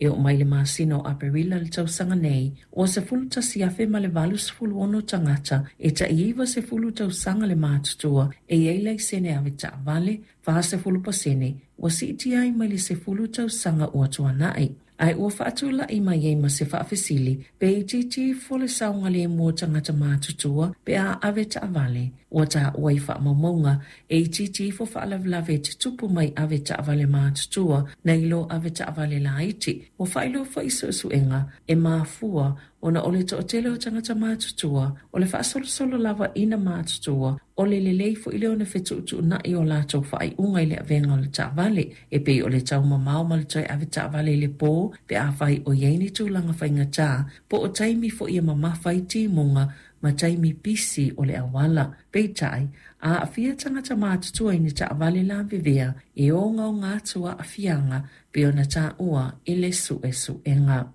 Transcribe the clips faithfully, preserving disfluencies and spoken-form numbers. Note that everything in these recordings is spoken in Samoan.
E oo mai le masina o Aperila le tausaga nei, ua sefulu tasi afe ma le valu sefulu ono tagata e tai iva sefulu tausaga le matutua e i ai laisene ave taavale, fa sefulu pasene, ua siitia ai mai le sefulu tausaga ua tuanai. Ae ua faatulai mai ai ma se faafesili, pe itiiti ifo le saogalemu o tagata matutua pe a ave taavale. Ua taua i faamaumauga e itiiti ifo faalavelave e tutupu mai ave taavale matutua nai lo ave taavale laiti. Ua faailoa foi suesuega e mafua ona o le toatele o tagata matutua o le faasolosolo lava ina matutua o le lelei foi lea ona fetuutuunai o latou faaiuga i le avega o le taavale e pei o le taumamao ma le toe ave taavale i le po pe afai o i ai ni tulaga faigata po o taimi foi e mamafa ai timuga ma taimi pisi o le auala. Peitai, a aafia tagata matutua i ni taavale lavevea e ogaoga atu aafiaga pei ona taua i le suesuega.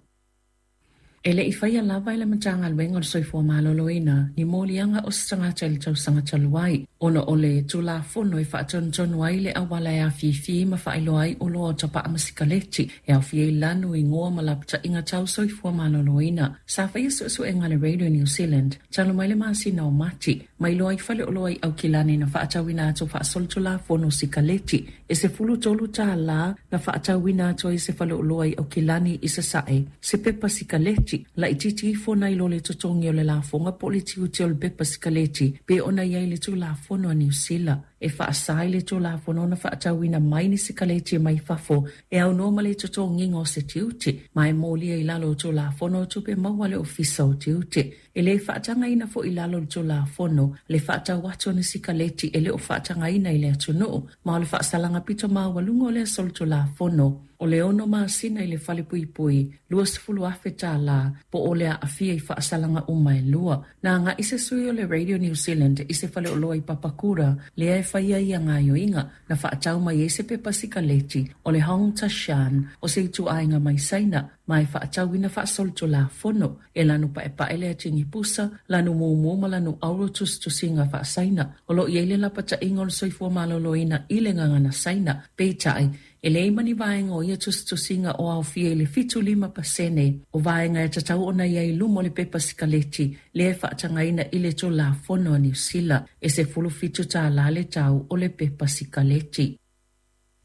E le i faia lava e le Matagaluega o le Soifua Maloloina ni moliaga o se tagata i le tausaga talu ai, ona o le Tulafono e faatonutonu ai le auala e afifi ma faailoa ai oloa o tapaa ma sikaleti e aofia ai lanu, igoa ma lapataiga tau soifua maloloina. Sa faia suesuega a le Radio New Zealand talu mai le masina o Mati, ma iloa ai faleoloa i Aukilani na faatauina atu faasolitulafono sikaleti e sefulu tolu tālā na faatauina atu ai se faleoloa i Aukilani i Sasae se pepa sikaleti laitiiti ifo nai lo le totogi o le lafoga po o le tiute o le pepa sikaleti pe ona i ai le Tulafono a Niu Sila. E faasa i le Tulafono ona faatauina mai ni sikaleti mai fafo e aunoa ma le totogiga o se tiute, ma e molia i lalo o Tulafono o Tupe Maua a le Ofisa o Tiute. E le faatagaina foi i lalo o le Tulafono le faatau atu o ni sikaleti e le o faatagaina i le atunuu, ma o le faasalaga pito maualuga o lea solitulafono o le ono masina i le falepuipui, luasefulu afe tālā, po o le aafia i faasalaga uma e lua. Na agai se sui o le Radio New Zealand i se faleoloa i Papakura, lea e faia ia gaoioiga, na faatau mai ai se pepa sikaleti o le Hong Tashan o se ituaiga mai Saina, ma e faatauina faasolitulafono e lanu paepae le atigi pusa, lanu mumu ma lanu auro tusitusiga faasaina. O loo i ai le lapataiga o le soifua maloloina i le gagana Saina, peitai e leai ma ni vaega o ia tusitusiga o aofia i le fitu lima pasene o vaega e tatau ona i ai i luma o le pepa sikaleti lea e faatagaina i le Tulafono a Niu Sila e sefulu fitu tālā le tau o le pepa sikaleti.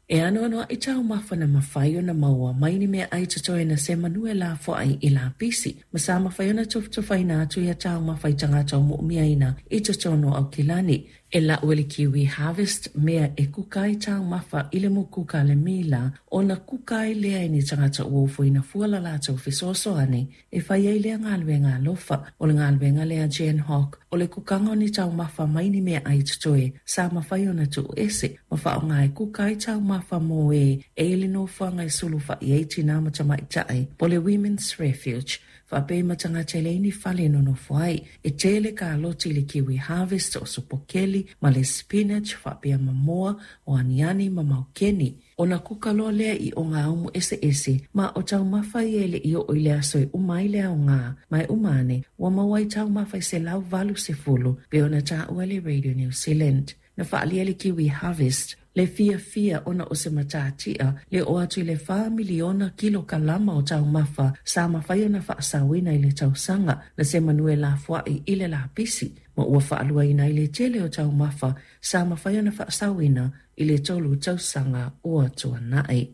E anoanoai taumafa na mafai ona maua mai ni meaai totoe na semanu e lafoai i lapisi, ma sa mafai ona tufatufaina atu ia taumafa i tagata o moomiaina i totonu o Aukilani. E lau e le Kiwi Harvest mea e kuka ai taumafa i le mukuka a le mila, ona kuka ai lea e ni tagata ua ofoina fua la latou fesoasoani e fai ai lea galuega alofa. O le galuega lea Jan Hawk o le kukaga o ni taumafa mai ni meaai totoe sa mafai ona tuuese ma faaaoga e kuka ai taumafa mo e e i le nofoaga e sulufai ai tinā ma tamaitai po le Women's Refuge faapea ma tagata e leai ni fale e nonofo ai. E tele kaloti i le Kiwi Harvest o sopokeli ma le spinach faapea mamoa o aniani ma maukeni. Ona kuka loa lea i ogaumu eseese ma o taumafa ia e le i oo i le aso e uma ai le aoga, ma e uma ane ua maua ai taumafa i selau valu sefulu pe ona taua e le Radio New Zealand. Na faaalia le Kiwi Harvest le fiafia ona o se matatia le oo atu i le fa miliona kilokalama o taumafa sa mafai ona faasaoina i le tausaga na semanu e lafoai i le lapisi, ma ua faaluaina ai le tele o taumafa sa mafai ona faasaoina i le tolu tausaga ua tuanai.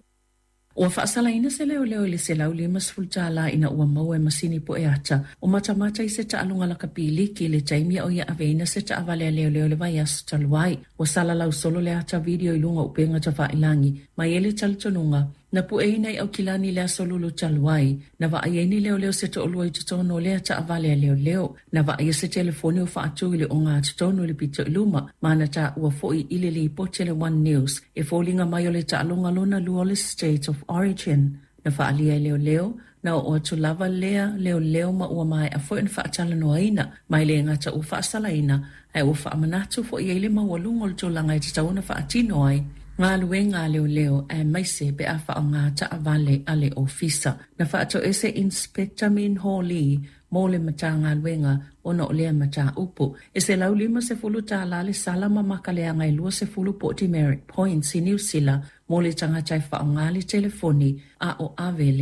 Ua faasalaina se leoleo i le selau limasefulu tālā ina ua maua e masini poe ata o matamata i se taaloga lakapiliki i le taimi o ia aveina se taavale a leoleo i le vaiaso talu ai. Ua salalau solo le ata video i luga o upega tafailangi mai e le talitonuga na pueina i Aukilani le aso lulu talu ai, na vaai ai ni leoleo se toalua i totonu o lea taavale a leoleo, na vaaia se telefoni o faatu i le ogatotonu i le pito i luma, ma na taua foi i le lipoti a le One News e foliga mai o le taaloga lona lua o le State of Origin. Na faaalia e leoleo, na oo atu lava lea leoleo ma ua maea foi ona faatalanoaina, ma e le gata ua faasalaina, ae ua faamanatu foi ai le maualuga o le tulaga e tatau ona faatino ai galuega a leoleo aemaise pe a faaaoga taavale a le ofisa. Na faatoese Inspector Min Ho Lee mo le Matagaluega ona o lea mataupu. E selau limasefulu tālā le sala ma makaleaga e luasefulu po o demerit points i Niu Sila mo le tagata e faaaoga le telefoni a o ave le